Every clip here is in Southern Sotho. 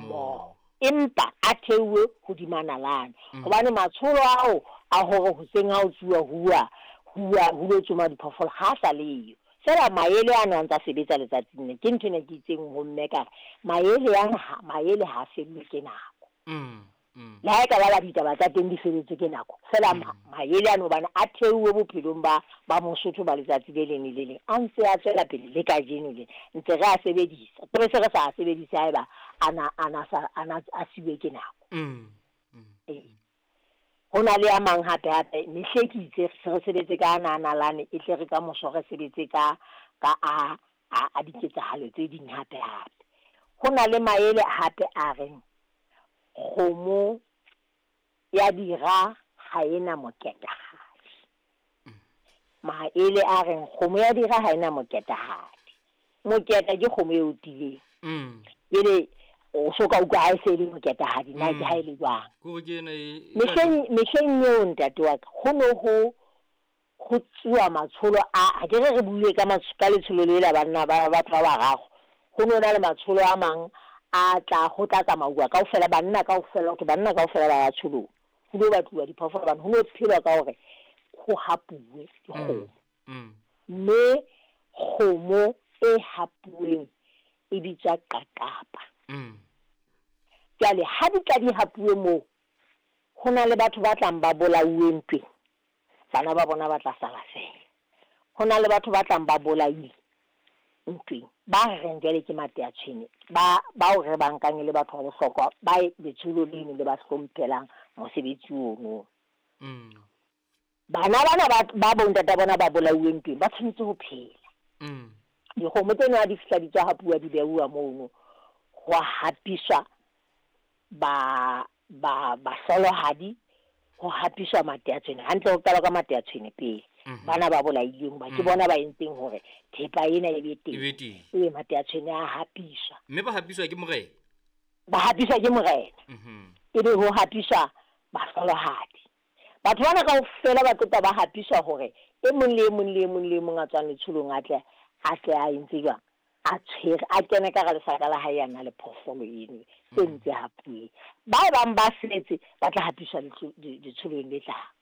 mmoho. Empa a theuwe hodima nalane. Hobane matsholo ao a hore hoseng ha ho tsuwa huwa huwa ho lo tsoma diphoofolo ha a sa leyo. Feela maele ano a ntsa sebetsa letsatsing le. Ke ntho ena ke itseng ho mme ka re maele ana ha maele ha a fellwe ke nako. Le ha e ka ba ba ditaba tsa teng di feletswe ke nako. Feela maele ano hobane a theuwe bophelong ba ba Mosotho ba letsatsi le leng le le leng a ntse a tswela pele le kajeno le ntse re a sebedisa. Re se re sa a sebedise haeba ana ana sa ana a siuwe ke nako. Ee. Ho na le a mang hape hape mehle ke itse se re sebetse ka ana a nalane e tle re ka moso re sebetse ka ka a a a diketsahalo tse ding hape hape. Ho na le maele hape a reng kgomo ya dira ha ena moketahadi. Maele a reng kgomo ya dira ha ena moketahadi. Moketa ke kgomo e otileng. Jwale o so ka utlwa ha e se e le moketahadi na ke ha e le jwang. Kore ke ena e Mehleng mehleng eo ntate wa ka ho no ho ho tsuwa matsholo a ha ke re re buile ka ka letsholo le la banna ba batho ba bararo. Ho no na le matsholo a mang a tla ho tla tsamauwa kaofela banna kaofela ho thwe banna kaofela ba ya tsholong. Ho lo batluwa diphoofolo hobane ho no phelwa ka hore ho hapuwe dikgomo. Mme kgomo e hapuweng e bitswa qaqapa. Jwale ha di tla di hapuwe moo, ho na le batho ba tlang ba bolauwe ntweng. Bana ba bona ba tla sala feela. Ho na le batho ba tlang ba bolaile ntweng. Ba reng jwale ke mateatshwene ba bao re ba nkang e le batho ba bohlokwa ba letsholo leno le ba hlomphelang mosebetsi ono. Bana bana ba ba bontata bona ba bolauwe ntweng ba tshwanetse ho phela. Dikgomo tseno ha di fihla di tswa hapuwa di beuwa mono ho hapiswa ba ba bahlolohadi ho hapiswa mateatshwene hantle ho qala ka mateatshwene pele. Bana ba bolailweng hoba ke bona ba entseng hore thepa ena e be teng. E be teng. Ee, mateatshwene a hapiswa. Mme ba hapiswa ke morena. Ba hapiswa ke morena. E be ho hapiswa bahlolohadi. Batho bana kaofela ba tlotla ba hapiswa hore e mong le e mong le e mong le e mong a tswang letsholong a tle a tle a entse jwang? A tshwere a kene ka hara lesaka la hae a na le phoofolo eno e ntse hapuweng. Ba bang ba setse ba tla hapiswa letsholong le tlang.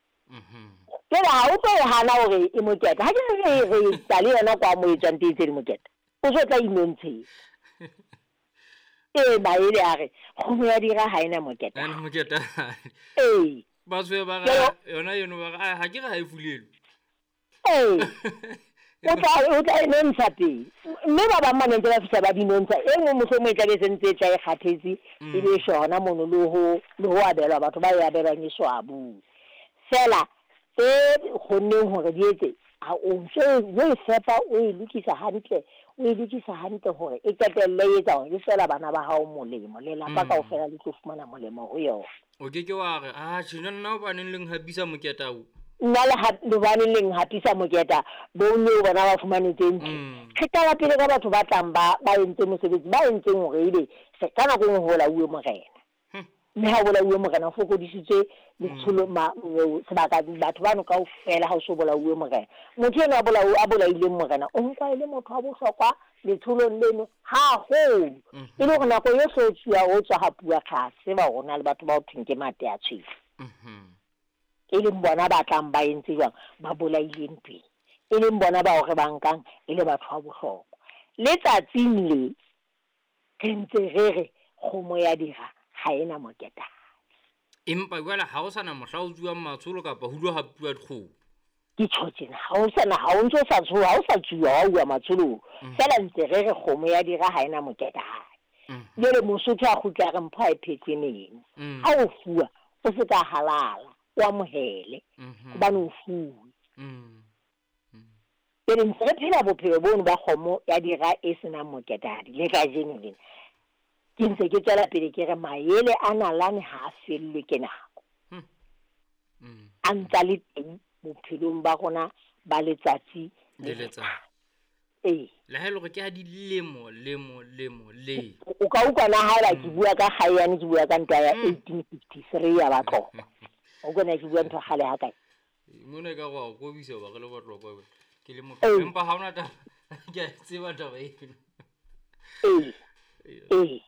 Jwale ha o tlo e hana hore e moketa. Ha ke re re etsa le yona kwa mo e tswang teng tse di moketa. O so tla inontsheng. Ee, maele a re kgomo ya dira ha ena moketa. Ha ena moketa. Ee. Ba tswe ba re yona eno ba re ha ke re ha e fulelwe. Ee. O tla o tla e nontsha pele. Mme ba bang ba ne ntse ba fihla ba di nontsha. E nngwe mohlomong e tla be se ntse e tla e kgathetse e be shona mono le ho le ho abelwa batho ba e abelwang e so abuwe. Feela tse kgonneng hore di etse ha o ntso o e fepa o e lokisa hantle o e lokisa hantle hore e qetelle e etsa hore e tswela bana ba hao molemo lelapa kaofela le tlo fumana molemo ho yona. O ke ke wa re a tjhe nna hobaneng le nhapisa moketa o. Nna le hobaneng le nhapisa moketa bo eo bona ba fumane tse ntle. Re qala pele ka batho ba tlang ba ba entse mosebetsi ba entseng hore ebe ka nako e nngwe ho bolauwe morena. Mme ha o bolauwe morena o fokodisitswe letsholo sebaka batho bano kaofela ha o so bolauwe morena. Motho enwa a bolaileng morena o nkwa e le motho wa bohlokwa letsholong leno haholo. E le hore nako yohle o tsuwa o tswa hapuwa re a tseba hore ho na le batho ba ho thweng ke mate a tshwele. E leng bona ba tlang ba entse jwang ba bolaile ntweng. E leng bona bao re ba nkang e le batho ba bohlokwa. Le tsatsing le re ntse re re kgomo ya dira ha ena moketahadi. Empa jwale ha o sana mohla o tsuwang matsholo kapa ho lo hapuwa dikgomo. Ke tjho tjena ha o sana ha o ntso sa tshoha ha o sa tsuwa wa uwa matsholong. Feela ntse re re kgomo ya dira ha ena moketahadi. Jwale Mosotho a kgutla a re mpho ha e phethwe meno. Ha o fuwa o se ka halala o amohele hobane o fuwe. Jwale ntse re phela bophelo bono ba kgomo ya dira e senang moketahadi le kajeno lena. Ke ntse ke tswela pele ke re maele a nalane ha a fellwe ke nako. A ntsa le teng bophelong ba rona ba letsatsi le letsatsi. Ee. Le ha e le hore ke ha dilemo lemo lemo le. O ka utlwa na haeba ke bua ka kgae ke bua ka ntwa ya 1853 ya Batlokwa. O kona ke bua ntho kgale ha kae? Mona e ka go a kobisa ba re le Batlokwa ke le motho empa ha ona taba ke a tseba taba eno. Ee. Ee.